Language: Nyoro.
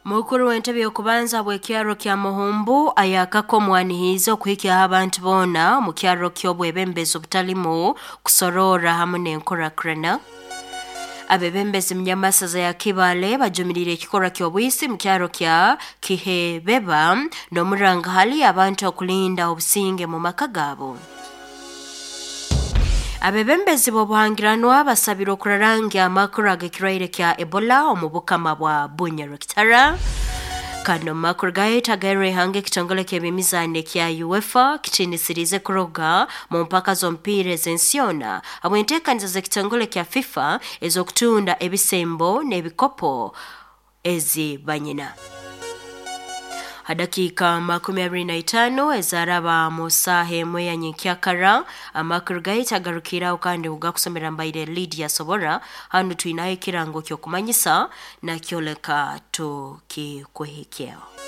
Mukuru w'entebe y'okubanza bw'ekyaro kya Muhumbu ayakako omwanihiize okuhikyaho abantu boona omu kyaro ky'obwebembezi obutalimu kusoroora hamu n'enkurakuraana. Abebembezi munyamasaza ya Kibaale bajumiriire ekikorwa ky'obwisi mu kyaro kya Kihebeba n'omuranga hali abantu okulinda obusinge mu maka gaabo. Abebembezi b'obuhangiranwa basabire okurarangya amakuru ag'ekirwaire kya Ebola omu bukama bwa Bunyarukitara. Kandi omu makuru gaitu agairwe ihanga, ekitongole ky'ebyemizaano ekya UEFA kitiinisiriize kuruga mu mpaka z'omupiira ez'ensi yoona habw'enteekaniza z'ekitongole kya FIFA ez'okutunda ebisembo n'ebikopo ezi banyina. Ha dakiika 25 ezaraba mu saaha 1 ya nyenkyakara, amakuru gaitu agarukiraho kandi kugakusomera mbaire Lydia Sobora. Hanu twinaho ekirango ky'okumanyisa nakyoleka tukikuhikyeho.